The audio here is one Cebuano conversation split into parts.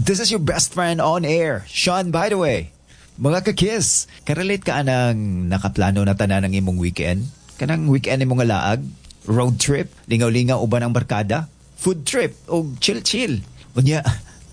This is your best friend on air, Sean, by the way. Mga ka-Kiss, karelate ka anang nakaplano na tanan ang imong weekend? Kanang weekend imong nga laag? Road trip? Lingaw-lingaw uban ang barkada? Food trip? O chill-chill? Unya,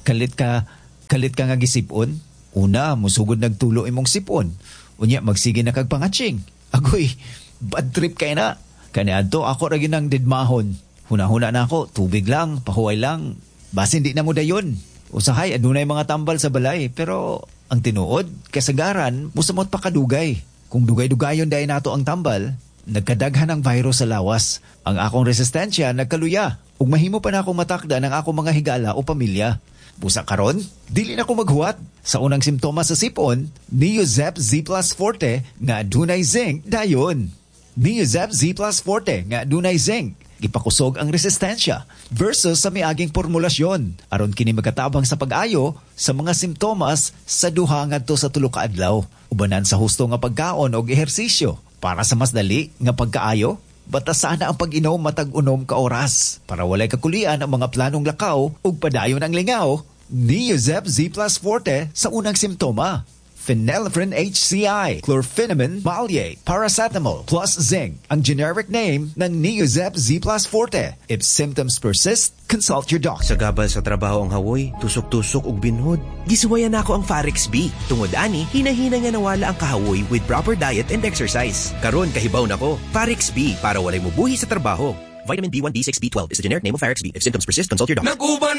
kalit ka nga gisipon? Una, musugod nagtulo imong sipon. Unya, magsige na kag pangatsing. Agoy, bad trip kay na. Kaniadto ako ra gyud nang didmahon. Huna-huna na ako, tubig lang, pahuway lang. Basin di na mo dayon. Usahay, adunay mga tambal sa balay, pero ang tinuod, kasagaran, musamot pa kadugay. Kung dugay-dugayon dahil nato ang tambal, nagkadaghan ang virus sa lawas. Ang akong resistensya nagkaluya. Ug mahimo pa na akong matakda ng akong mga higala o pamilya. Busa karon, dili na ko maghuwat. Sa unang simptomas sa sipon, Neozep Z Plus Forte nga adunay zinc dayon. Neozep Z Plus Forte nga adunay zinc. Gipakusog ang resistensya versus sa miaging formulasyon aron kini makatabang sa pag-ayo sa mga simptomas sa 2 ngadto sa 3 ka adlaw. Ubanan sa husto nga pagkaon og ehersisyo para sa mas dali nga pagkaayo. Batasan na ang pag-inom matag 6 ka oras para walay kakulian ang mga planong lakaw ug padayon ang lingaw. Neozep Z Plus Forte sa unang simptoma. Phenylephrine HCI, chlorphenamine maleate, paracetamol plus zinc. Ang generic name ng Neozep Z Plus Forte. If symptoms persist, consult your doctor. Sagabal sa trabaho ang hawoy, tusok-tusok ug binhod. Gisuwayan nako ang Farex B. Tungod ani, hinahina nga nawala ang kahawoy with proper diet and exercise. Karon kahibaw na ko, Farex B para walay mubuhi sa trabaho. Vitamin B1, B6, B12 is the generic name of Farex B. If symptoms persist, consult your doctor. Nag-uban